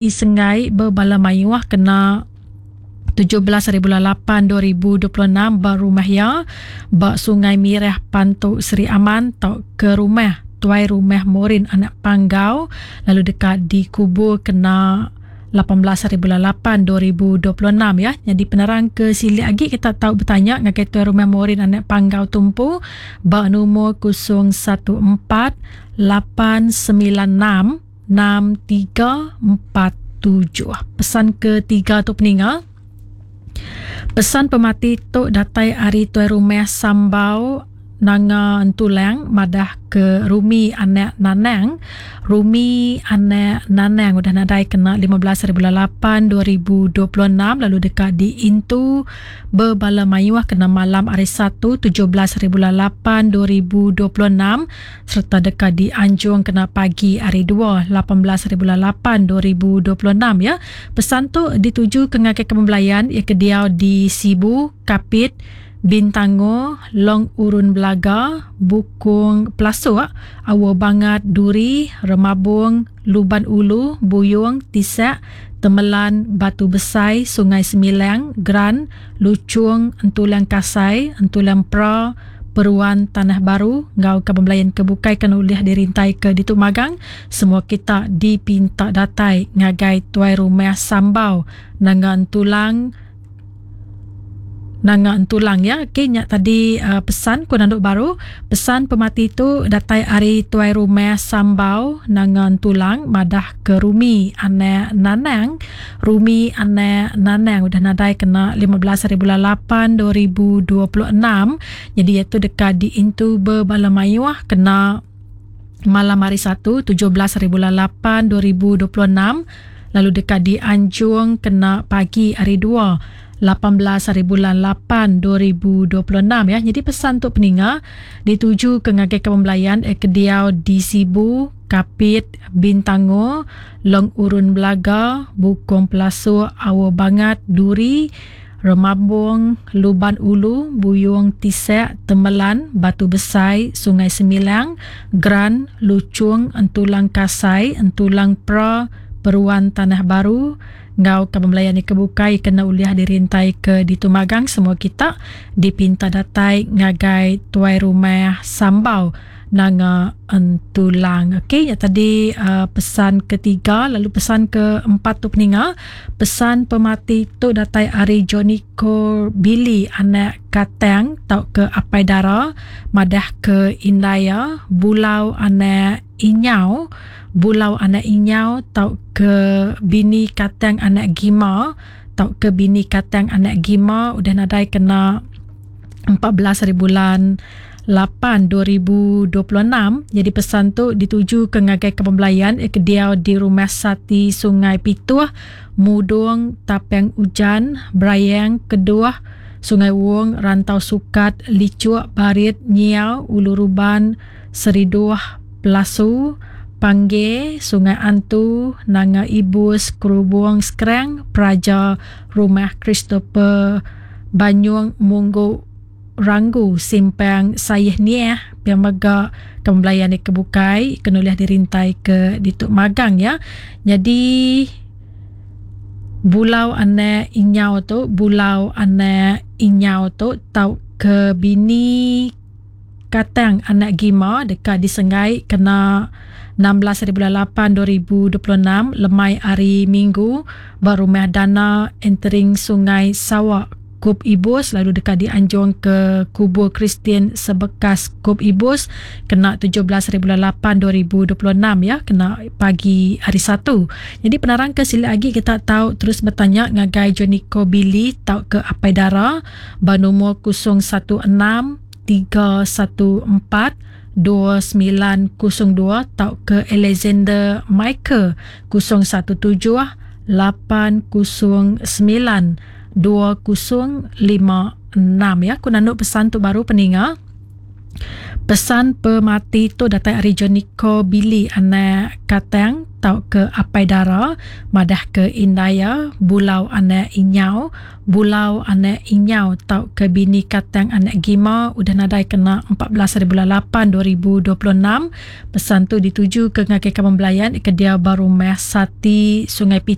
Isenggai bebala mayuh kena 17 hari bulan 8 2026 ba rumah iya ba Sungai Mirah Pantu Sri Aman tauka rumah Tuai Rumah Morin Anak Panggau lalu deka dikubur kena 18 hari bulan 8 2026 ya. Nyadi penerang ke silik agi kita tau betanya ngagai Tuai Rumah Morin Anak Panggau tumpu ba numur 014 896 6347. Pesan ketiga tu peninga. Pesan pemati tu datai ari tuai rumah Sambau Nanga Entulang madah ke Rumi anak Nanang. Rumi anak Nanang udah nadai kena 15 hari bulan 8 2026 lalu deka diintu bebala mayuh kena malam hari Satu 17 hari bulan 8 2026 sereta deka dianjung kena pagi hari Dua, 18 haribulan 8 2026 ya. Pesan tu dituju ke ngagai kaban belayan iya ke diau di Sibu, Kapit, Bintangor, Long Urun Belaga, Bukong Pelasuk, Aur Bangat, Duri, Remabong, Luban Ulu, Buyong, Tisak, Temelan, Batu Besai, Sungai Semilang, Gran, Luchong, Entulang Kasai, Entulang Pra, Peruan Tanah Baru enggau kaban belayan ke bukai ke ulih dirintaika ditu magang. Semua kita dipinta datai ngagai Tuai Rumah Sambau Nanga Entulang Nanga Entulang ya. Okey nya tadi uh, pesan ku nandu baru. Pesan pemati tu datai ari Tuai Rumah Sambau Nanga Entulang madah ke Rumi anak Nanang Rumi anak Nanang udah nadai kena 15 hari bulan 8 2026. Jadi iya tu deka diintu bebala mayuh kena malam hari Satu 17 hari bulan 8 2026 lalu deka dianjung kena pagi hari 2 18 hari bulan 8 2026 ya. Jadi pesan tu peninga dituju ke ngagai kaban belayan eh, ke diau di Sibu, Kapit, Bintangor, Long Urun Belaga, Bukong Pelasuk, Aur Bangat, Duri, Remabong, Luban Ulu, Buyong Tisek, Temelan, Batu Besai, Sungai Semilang, Gran, Luchong, Entulang Kasai, Entulang Pra, Peruan Tanah Baru, enggau kaban belayan ke bukai kena ulih dirintai ke ditu magang semua kita dipinta datai ngagai tuai rumah Sambau Nanga Entulang. Okey, nya tadi uh, pesan ketiga lalu pesan keempat tu peninga. Pesan pemati tu datai ari Johnny Ko Billy anak Katang tauka Apai Dara madah ke indai iya Bulau anak Inyau, Bulau anak Inyau tauka bini Katang anak Gima tauka bini Katang anak Gima udah nadai kena 14 hari bulan 8 2026. Jadi pesan tu dituju ke ngagai kaban belayan ke diau di Rumah Sati Sungai Pituh, Mudong, Tapang Ujan, Brayang, Keduh, Sungai Wong, Rantau Sukat, Licuk, Barit, Nyiau, Ulu Ruban, Seriduh, Pelasu, Pangge, Sungai Antu, Nanga Ibus, Kerubung, Skrang, Praja, Rumah Christopher Banyung Munggu Ranggu Simpang Sayih Niah pia mega ke belayan ke bukai ke nulih dirintai ke ditu magang ya. Jadi Bulau anak Inyau tu Bulau anak Inyau tu tau ke bini Katang anak Gima deka disenggai kena 16 hari bulan 8 2026 lemai hari Minggu ba Rumah Dana Entering Sungai Sawa Kup Ibus lalu deka dianjung ke Kubur Kristian Sebekas Kup Ibus kena 17 hari bulan 8 2026 ya kena pagi hari Satu. Jadi penerang ke silik agi kita tau terus betanya ngagai Joniko Billy tau ke Apai Dara ba numur 016 314 2902 tauka Alexander Michael 017 809 2056 ya. Ku nandu pesan tu baru peninga. Pesan pemati tu datai ari Jonico Billy anak Katang. tauka Apai Dara madahka indai iya Bulau anak Inyau, Bulau anak Inyau tauka bini Katang anak Gima udah nadai kena 14 hari bulan 8 2026. Pesan tu ditujuka ngagai kaban belayan ke diau ba Rumah Sati Sungai.